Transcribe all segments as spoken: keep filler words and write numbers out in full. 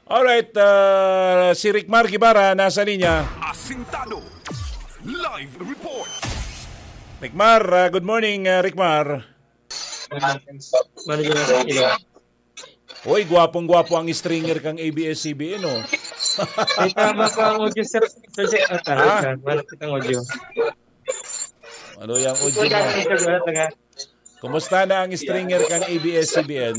Alright, ah, si Rickmar Guevara nasa linya. Asintado. Live report. Rickmar, ah, good morning, ah, Rickmar. Manager na sa ilo. Hoy, gwapong-gwapo ang stringer kang A B S C B N, oh. Ay, tama pa ang audio, sir. Sir, sir, ah, tama Ah? ka. Wala kitang audio. Ano yung audio mo? Wala, wala. Kumusta na ang stringer kang A B S C B N?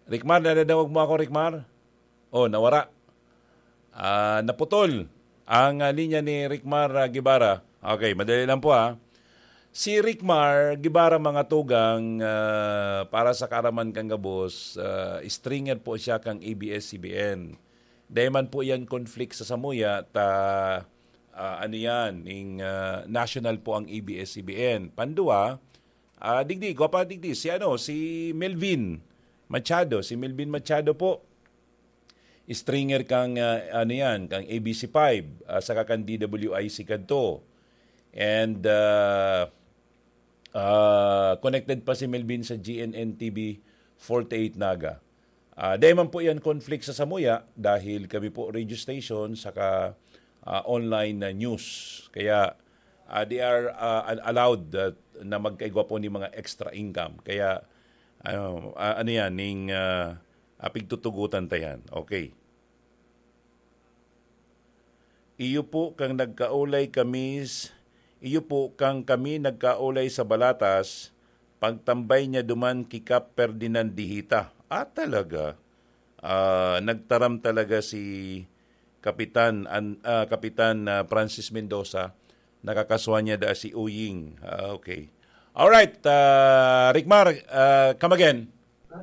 Rickmar, nadadangog mo ako, Rickmar? Oh, nawara. Ah, naputol ang, ah, linya ni Rickmar, ah, Guevara. Okay, madali lang po, ah. Si Rickmar Guevara, mga tugang, ah, para sa kaaraman kan gabos, ah, stringer po siya kang A B S C B N. Dai man po yan conflict sa samuya, ta, ah, ano yan, ning, ah, national po ang A B S C B N. Pandua, ah, digdi, gwapa digdi, si ano, si Melvin Machado. Si Melvin Machado po, stringer kang, ah, ano yan, kang A B C five, ah, saka kan D W I C kadto. And, ah, ah, connected pa si Melvin sa G N N T V forty-eight Naga. Ah, dai man po yan conflict sa samuya dahil kami po radio station saka, ah, online na news. Kaya, ah, they are, ah, al-, allowed, ah, na magkaigwa po ni mga extra income. Kaya, ano, ah, ano yan, ning, ah, ah, pigtutugutan ta yan. Okay. Iyo po kang nagkaulay kami s-, iyo po kang kami nagkaulay sa Balatas, pagtambay niya duman ki Kap Ferdinand Dihita. Ah, talaga? Ah, nagtaram talaga si Kapitan An-, ah, Kapitan, ah, Francis Mendoza, nakakaswa niya da si Uying. Ah, okay. Alright, ah, Rickmar, ah, come again.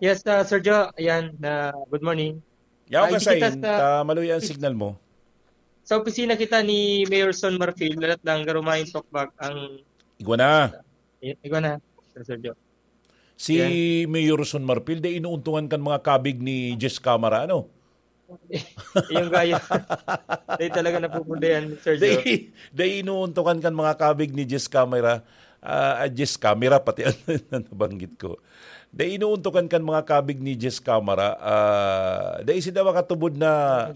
Yes, ah, Sir Joe. Ayan, ah, good morning. Yaw Ay, ka di kita sain, sa ta maluya ang signal mo. Sa opisina kita ni Mayor Son Marfil, lalat lang garumahin talk back ang Igwa na. I-, igwa na, Sir Sergio. Si Yan. Mayor Son Marfil, dai inuuntungan kan mga kabig ni Jess Camara, ano? Yung gaya. Dai talaga napupundayan, Sir Joe. Dai, dai inuuntukan kan mga kabig ni Jess Camara. Ah, ah, Jess Camera, pati ang nabanggit ko. Dai inuuntukan kan mga kabig ni Jess Camara. Ah, dai sila makatubod na,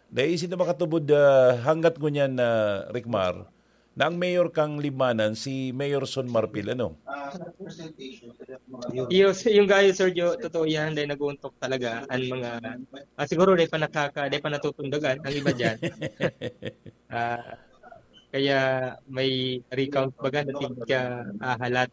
dai sila makatubod, ah, hanggat ngunyan na, Ricmar, na ang mayor kang Libmanan, si Mayor Son Marfil, ano? Iyo, s-, yung gayo, Sir Joe, totoo yan, dahil nag-uuntok talaga ang mga, ah, siguro dahil pa nakaka-, dahil pa natutundagan ang iba dyan. Ah, kaya may recount baga na tig-, ah, halat.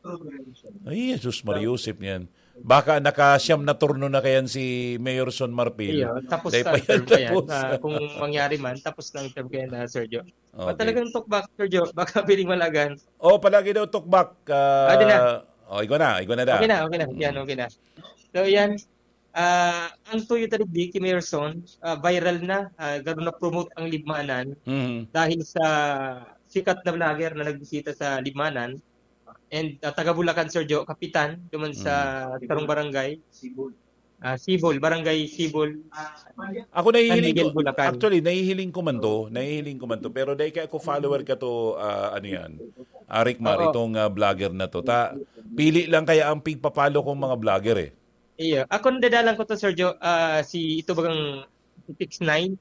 Ay, Jesus Maria Joseph niyan. Baka naka-siyam na turno na kayan si Mayor Son Marfil. Iyo, tapos Dahil na pa ang yan term ko yan. tapos. Ah, kung mangyari man, tapos na ang term ko yan, ah, Sir Joe. Ah, Okay. talagang talk back, Sir Joe. Baka piling malagan. Oh, palagi daw talk back, ah, Ah, di na. oh, igwa na, igwa na da. Okay na, okay na. Yan, Mm. okay na. So, yan. Ah, ang Toyota Digdi, ki Mayor Son, ah, viral na. Ah, garo na-promote ang Libmanan Mhm. dahil sa sikat na vlogger na nagbisita sa Libmanan. And, ah, taga Bulacan, Sir Joe, kapitan, duman sa Mhm. sarong barangay. Ah, Sibol, Barangay Sibol. Ako San nahihiling Miguel, ko, Bulacan. actually, nahihiling ko man to, nahihiling ko man to, pero dahil kaya ako follower ka to, ah, ano yan, ah, Rick Mar, Oo. itong, ah, vlogger na to. Ta, pili lang kaya ang pigpapalo kong mga vlogger eh. Iyo. Ako, nadadalan ko to, Sir Joe, ah, si, ito bagang six nine,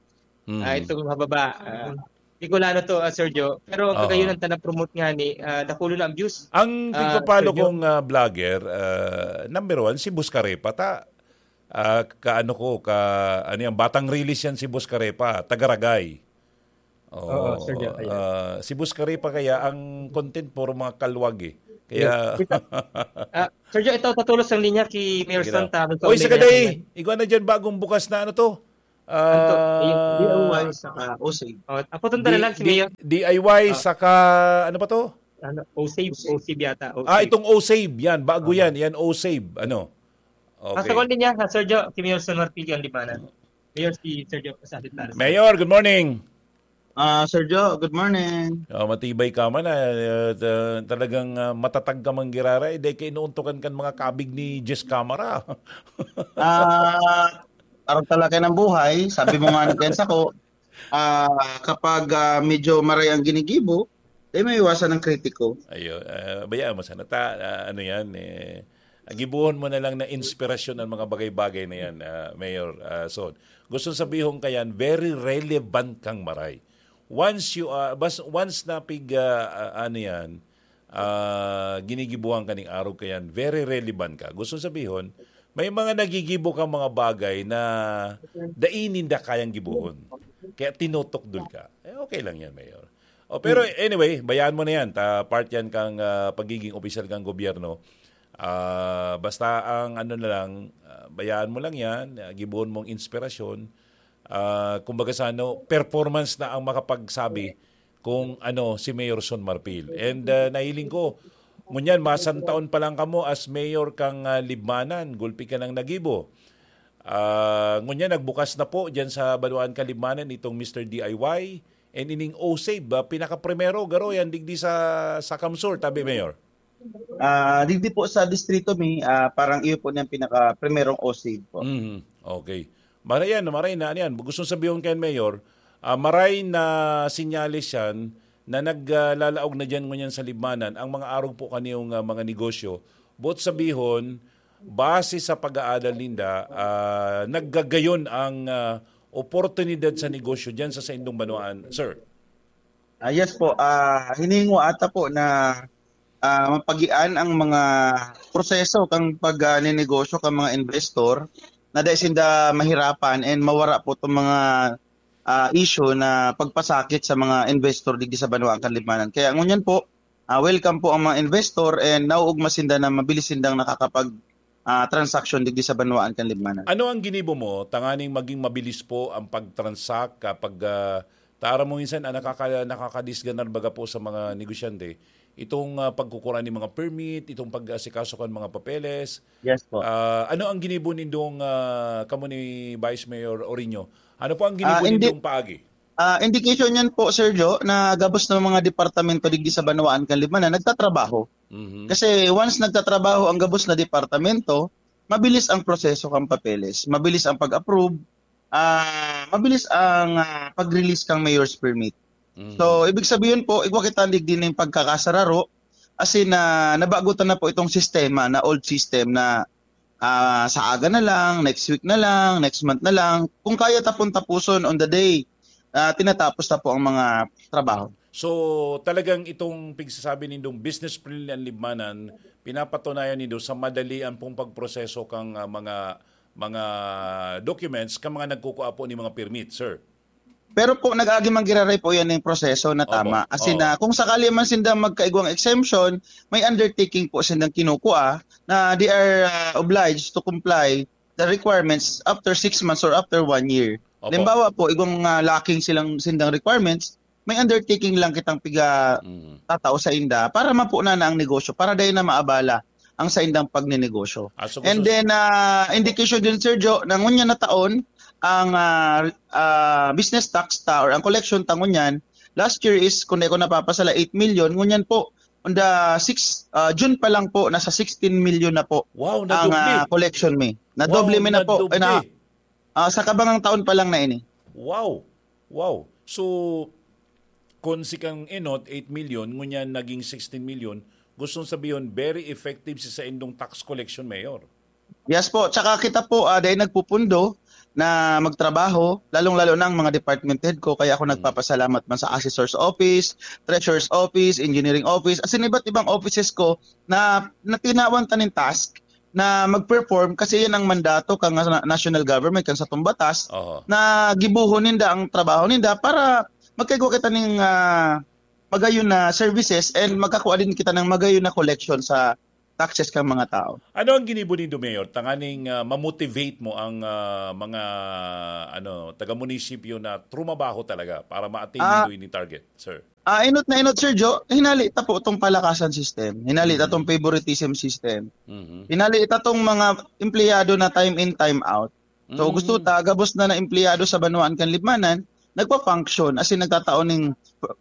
Mm. ah, itong mababa, ah, Bicolano to, ah, Sir Joe. Pero ang Oo. kagayon ang tana-promote nga ni, ah, dakulo na ang views. Ang Ah, pigpapalo Sir Joe. kong, ah, vlogger, ah, number one, si Buscarepa. Ta, ah, kaano ko, ka, ano yan, batang release yan si Buscarepa, taga Ragay. Oo, Oo, Sir Joe, ayan. ah, si Buscarepa kaya ang content puro mga kalwag eh. Kaya Yes. Ito, ah, Sir Joe, ito, tatulos ang linya ki Mayor Sige na. Santa. Oy, sa Kaulay na kaday, yan. igwa na dyan, bagong bukas na ano to? Ano to? Ah, D I Y saka O C. Oh, aputon ta na Di-, lang si di-, Mayor. D I Y Ah. saka, ano pa to? Ano, O save, O save yata, O Ah, save. itong O save, yan, bago Okay. yan, yan O save, ano? Ah, Okay. sa kuwan din niya, ha, Sir Joe, si Mayor Son Marfil ang Libmanan. Mayor si Sir Joe, sa Alit Taras. Mayor, good morning. Ah, Sir Joe, good morning. Oh, matibay ka man, ah, eh, ta-, talagang, ah, matatag ka man giraray, dahil kainuuntukan kan mga kabig ni Jess Camara. Ah, parang talaga ng buhay, sabi mo nga ni Ken Sako, ah, kapag, ah, medyo maray ang ginigibo, Di may iwasan ng kritiko. Ayo, ah, bayaan mo sana. Ta, ah, ano yan, eh, gibuhon mo na lang na inspirasyon ang mga bagay-bagay na yan, ah, Mayor, ah, Son. Gusto sabihon ka yan, very relevant kang Maray. Once you are, bas, once na pig, ah, ah, ano yan, ah, ginigibuhan ka ning arog ka yan, very relevant ka. Gusto sabihon, may mga nagigibo kang mga bagay na dai ninda kayang gibuhon. Kaya tinutokdol ka. Eh, okay lang yan, Mayor. Oh, pero anyway, bayaan mo na yan. Ta, part yan kang ah, pagiging opisyal kang gobyerno. Ah, basta ang ano na lang, ah, bayaan mo lang yan. Ah, gibuhon mong inspirasyon. Ah, kumbaga sa ano, performance na ang makapagsabi kung ano si Mayor Son Marfil. And ah, nahiling ko, ngunyan, masantaon pa lang kamo as mayor kang ah, Libmanan, gulpi ka nang nagibo. Ah, ngunyan, nagbukas na po dyan sa Banwaan kan Libmanan itong Mister D I Y. And ining OSAVE, ah, pinakaprimero, garo yan, digdi sa, sa Kamsur, tabi, Mayor. Ah, digdi po sa distrito mi, ah, parang iyo po niyang pinaka-primerong OSAVE po. Mhm. Okay. Maray yan, maray na, ano yan. Gusto sabihon kayan, Mayor, ah, maray na sinyales yan na naglalaog na dyan ngunyan sa Libmanan ang mga arog po kaniyong ah, mga negosyo. Both sabihon, base sa pag-aadal ninda, ah, naggagayon ang ah, oportunidad sa negosyo dyan sa saindong banwaan, sir. Ah, yes po, ah, hiningo ata po na ah, mapagian ang mga proseso kang pagninegosyo kang mga investor na dai sinda mahirapan and mawara po itong mga ah, issue na pagpasakit sa mga investor digdi sa Banwaan kan Libmanan. Kaya ngunyan po, ah, welcome po ang mga investor and nauugma sinda na mabilis sindang nakakapag ah, transaction digdi sa Banwaan kan Libmanan. Ano ang ginibo mo tanganing maging mabilis po ang pag-transact kapag ah, tara mo minsan ang nakaka, nakakadisganar baga po sa mga negosyante, itong ah, pagkukura ni mga permit, itong pag-asikaso kan mga papeles. Yes po. Ah, ano ang ginibo nindong ah, kamo ni Vice Mayor Orino? Ano po ang ginibo Ah, hindi- nindong paagi? Ah, indication yan po, Sir Joe, na gabos ng mga departamento digdi sa Banwaan kan Libmanan nagtatrabaho. Mhm. Kasi once nagtatrabaho ang gabos na departamento, mabilis ang proseso kang papeles, mabilis ang pag-approve, ah, mabilis ang ah, pag-release kang mayor's permit. Mhm. So, ibig sabihin po, igwa kita digdi ning pagkakasararo, as in, ah, nabagutan na po itong sistema na old system na ah, sa aga na lang, next week na lang, next month na lang. Kung kaya tapon-tapuson on the day, ah, tinatapos na po ang mga trabaho. So, talagang itong pigsasabi nindong business friendly ang Libmanan, pinapatunayan nindo sa madali ang pong pagproseso kang ah, mga mga documents kang mga nagkukuha po ni mga permit, sir. Pero po, nag-agi man giraray po yan yung proseso na Opo. tama. As in, Oo. ah, kung sakali man sindang magkaigwang exemption, may undertaking po sindang kinukuha na they are ah, obliged to comply the requirements after six months or after one year. Opo. Halimbawa po, igwang ah, lacking silang sindang requirements, may undertaking lang kitang piga Mhm. tatao sa inda para mapunan na ang negosyo, para dahil na maabala ang sa indang pagnenegosyo. Ah, so And gusto- then, ah, indication din, Sir Joe, na ngunyan na taon, ang ah, ah, business tax ta or ang collection ta ngunyan, last year is, kung di ko napapasala, eight million. Ngunyan po, on the six, ah, June pa lang po, nasa sixteen million na po Wow, ang nadoble. ah, collection mi. Nadoble Wow, mi na po. nadoble. Na, ah, sa kabangang taon pa lang na ini. Wow. Wow. So, kung si kang Enot, eight million, ngunyan naging sixteen million, gustong sabihin, very effective si sa indong tax collection, Mayor. Yes po. Tsaka kita po, ah, dahil nagpupundo na magtrabaho, lalong-lalo na ang mga department head ko, kaya ako Mm. nagpapasalamat man sa assessor's office, treasurer's office, engineering office, as in iba't ibang offices ko na, na tinawan ta nin task na mag-perform kasi yan ang mandato kang na- national government, kang sa tumbatas, Oho. Na gibuhon ninda ang trabaho ninda para magkaigwa kita ning ah, magayon na services and magkakuha din kita ng magayon na collection sa taxes kang mga tao. Ano ang ginibo nindo, Mayor, tanganing ah, ma-motivate mo ang ah, mga ano taga-munisipyo na trumabaho talaga para ma-attain Ah. nindo ini target, sir? Ah, inot na inot, Sir Joe, hinali ta po itong palakasan system. Hinali ta Mhm. itong favoritism system. Mhm. Hinali ta itong mga empleyado na time in, time out. So, Mm. gusto ta, gabos na na empleyado sa Banwaan kan Libmanan, nagpa-function, as in, nagtatao ning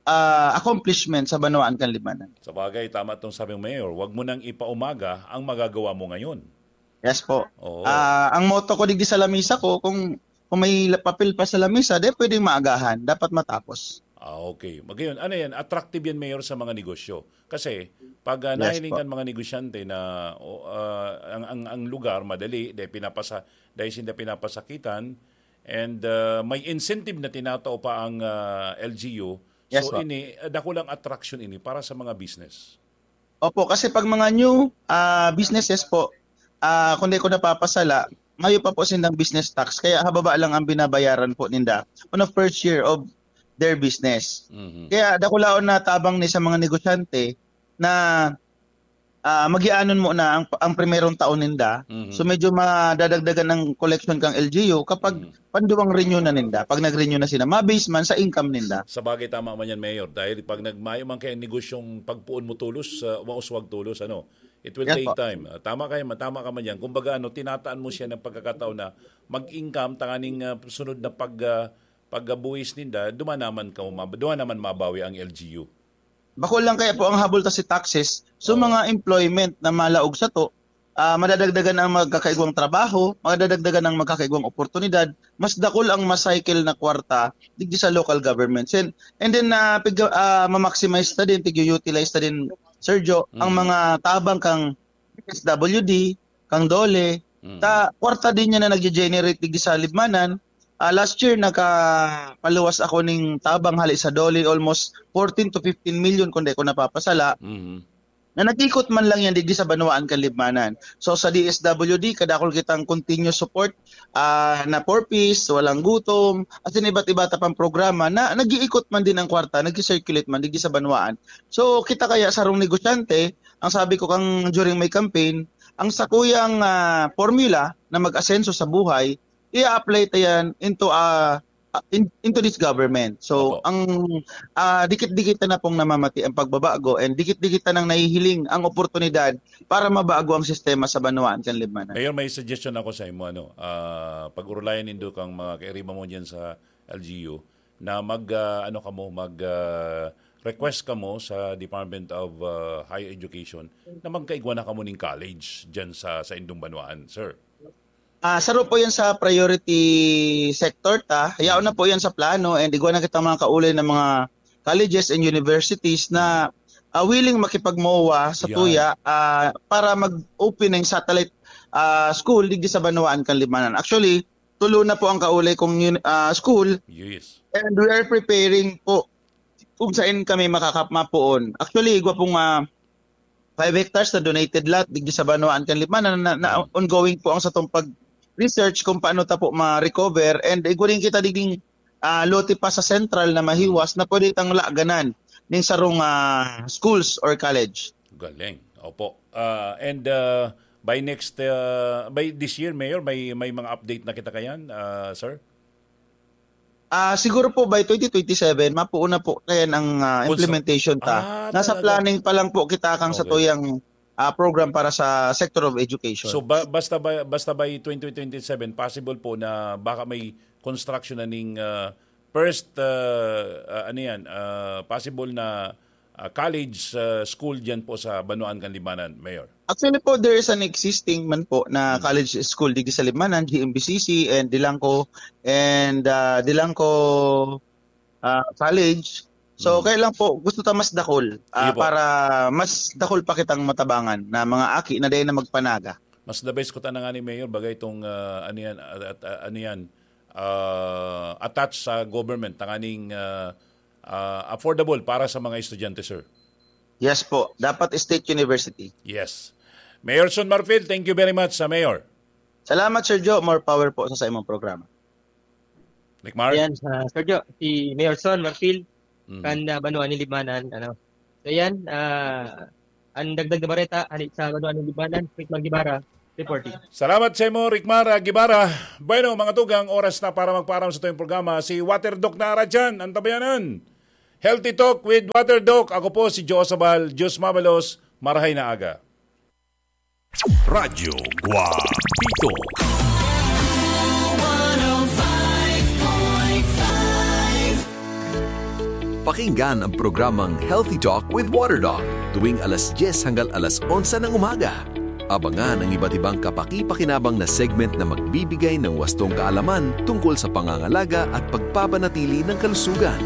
ah, accomplishment sa Banwaan kan Libmanan. Sa bagay, tama itong sabi ng Mayor, wag mo nang ipaumaga ang magagawa mo ngayon. Yes po. Oo. Ah, ang motto ko digdi sa lamisa ko, kung, kung may la- papel pa sa lamisa, di pwedeng maagahan, dapat matapos. Ah, okay. Magayon, ano yan? Attractive yan, Mayor, sa mga negosyo. Kasi, pag ah, Yes nahiling po. Kan mga negosyante na o, ah, ang, ang, ang lugar, madali, dahil pinapasa, dahil sinda pinapasakitan, and ah, may incentive na tinatao pa ang ah, L G U. Yes So, po. Ini, ah, dakulang attraction ini para sa mga business. Opo, kasi pag mga new ah, businesses po, ah, kung di ko napapasala, mayo pa po sindang business tax, kaya hababa lang ang binabayaran po ninda on a first year of their business. Mhm. Kaya dakulaon na tabang ni sa mga negosyante na ah, magianon mo na ang, ang primerong taon ninda. Mhm. So medyo madadagdagan ang collection kang L G U kapag Mhm. panduwang renew na ninda. Pag nag-renew na sila, mabase man sa income ninda. Sa bagay, tama man yan, Mayor. Dahil pag nagmayo man kaya negosyong pagpuon mo tulos, ah, mauswag tulos, ano, it will Yes take po. Time. Ah, tama kayo, tama ka man yan. Kumbaga, ano, tinataan mo siya ng pagkakataon na mag-income, tanganing ah, sunod na pag, ah, pagbuhis ninda, duman naman, ka, duman naman mabawi ang L G U. Bako lang kaya po ang habol ta si taxes. So Oo. Mga employment na malaog sa to, ah, madadagdagan ang magkakaigwang trabaho, madadagdagan ang magkakaigwang oportunidad, mas dakul ang macycle na kwarta digdi sa local governments. And, and then, ah, pig-, ah, ma-maximize ta din, tig-utilize ta din, Sergio, ang Mm. mga tabang kang S W D, kang DOLE, Mm. ta kwarta din niya na nagge-generate digdi sa Libmanan. Ah, last year, nakapaluwas ako ning tabang hali sa DOLE, almost fourteen to fifteen million, kung di ko napapasala. Mhm. Na nag-ikot man lang yan digdi sa banwaan kan Libmanan. So, sa D S W D, kadakol kitang continuous support, ah, na Four Ps, Walang Gutom, as in iba't iba ta pang programa na nag-iikot man din ang kwarta, nag-circulate man digdi sa banwaan. So, kita kaya sarong negosyante, ang sabi ko kang during my campaign, ang sakuyang ah, formula na mag-asenso sa buhay, i-apply ta yan into ah, ah, in- into this government. So, Opo. Ang ah, dikit-dikit na pong namamati ang pagbabago and dikit-dikit na nang nahihiling ang oportunidad para mabago ang sistema sa banwaan kan Libmanan. Mayor, may suggestion ako sa imo, ano, ah, pag-urulayan nindo kang mga kairiba mo diyan sa L G U na mag ah, ano kamo, mag ah, request kamo sa Department of ah, Higher Education na magkaigwa na kamo ning college diyan sa sa indong banwaan, sir. Ah, saro po yan sa priority sector ta. Yaon na po yan sa plano and igwa na kitang mga kaulay na mga colleges and universities na ah, willing makipag-MOA sa Yan. Tuya ah, para mag-open ng satellite ah, school digdi sa banwaan kan Libmanan. Actually, tulo na po ang kaulay kong yun- ah, school Yes. And we are preparing po kung saan kami makakap mapuon. Actually, igwa pong ah, five hectares na donated lot digdi sa banwaan kan Libmanan na, na, na Mm. ongoing po ang satong pag-research kung paano ta po ma-recover and igwa rin kita digding ah, lote pa sa central na mahiwas na pwede tang laganan ning sarong ah, schools or college. Galing. Opo. Ah, and ah, by next ah, by this year, Mayor, may may mga update na kita kayan, ah, sir? Ah, siguro po by twenty twenty-seven, mapuon na po kayan ang ah, Kung sa- implementation ta. Ah, Nasa talaga? Planning pa lang po kita kang sa Okay. Tuyang ah, program para sa sector of education. So ba, basta by basta by twenty twenty-seven, possible po na baka may construction na ning ah, first ah, ah, ano yan, ah, possible na ah, college ah, school diyan po sa Banwaan kan Libmanan, Mayor. Actually po, there is an existing man po na Hmm. College school digdi sa Libmanan, G M B C C and Dilangco and ah, Dilangco ah, College. So, Hmm. Kaya lang po, gusto ta mas dakol ah, Iyo po. Para mas dakol pa kitang matabangan na mga aki na dahil na magpanaga. Mas the best ko ta na nga ni Mayor, bagay itong ah, ano yan, at, at, ah, ano yan, ah, attached sa government, tanganing ah, ah, affordable para sa mga estudyante, sir. Yes po, dapat state university. Yes. Mayor Son Marfil, thank you very much sa Mayor. Salamat, Sir Joe. More power po sa, sa imong programa. Rick Mar? Ayan, ah, Sir Joe, si Mayor Son Marfil, Mhm. Kan ah, Banwaan ni Libmanan, ano. So yan, ah, ang dagdag na bareta, ani sa Banwaan ni Libmanan, Rick Mar Guevara, reporting. Salamat sa imo, Rick Mar, ah, Guevara. Bueno, mga tugang, oras na para magpaaram sa tuyong programa. Si Water Doc na ara dyan, ang tabayanan. Healthy Talk with Water Doc. Ako po si Joe Sabal. Diyos mabalos. Marahay na aga. Radyo Guapito. Pakinggan ang programang Healthy Talk with Water Doc tuwing alas dyes hanggang alas onse ng umaga. Abangan ang iba't ibang kapaki-pakinabang na segment na magbibigay ng wastong kaalaman tungkol sa pangangalaga at pagpapanatili ng kalusugan.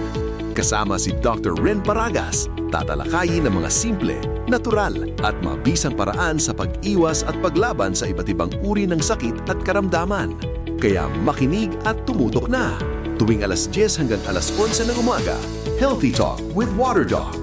Kasama si Doctor Ren Paragas, tatalakayin ang mga simple, natural, at mabisang paraan sa pag-iwas at paglaban sa iba't ibang uri ng sakit at karamdaman. Kaya makinig at tumutok na. Tuwing alas dyes hanggang alas onse ng umaga, Healthy Talk with Water Doc.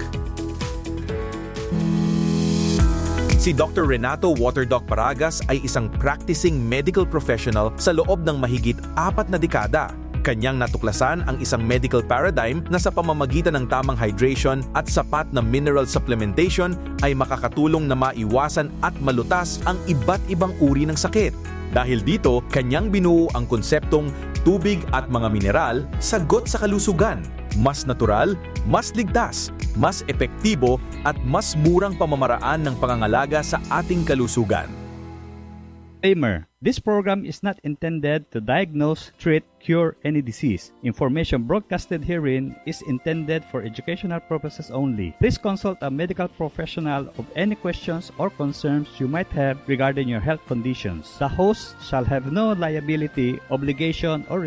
Si Doctor Renato Water Doc Paragas ay isang practicing medical professional sa loob ng mahigit apat na dekada. Kanyang natuklasan ang isang medical paradigm na sa pamamagitan ng tamang hydration at sapat na mineral supplementation ay makakatulong na maiwasan at malutas ang iba't ibang uri ng sakit. Dahil dito, kanyang binuo ang konseptong tubig at mga mineral, sagot sa kalusugan. Mas natural, mas ligtas, mas epektibo, at mas murang pamamaraan ng pangangalaga sa ating kalusugan. Disclaimer. This program is not intended to diagnose, treat, cure any disease. Information broadcasted herein is intended for educational purposes only. Please consult a medical professional of any questions or concerns you might have regarding your health conditions. The host shall have no liability, obligation, or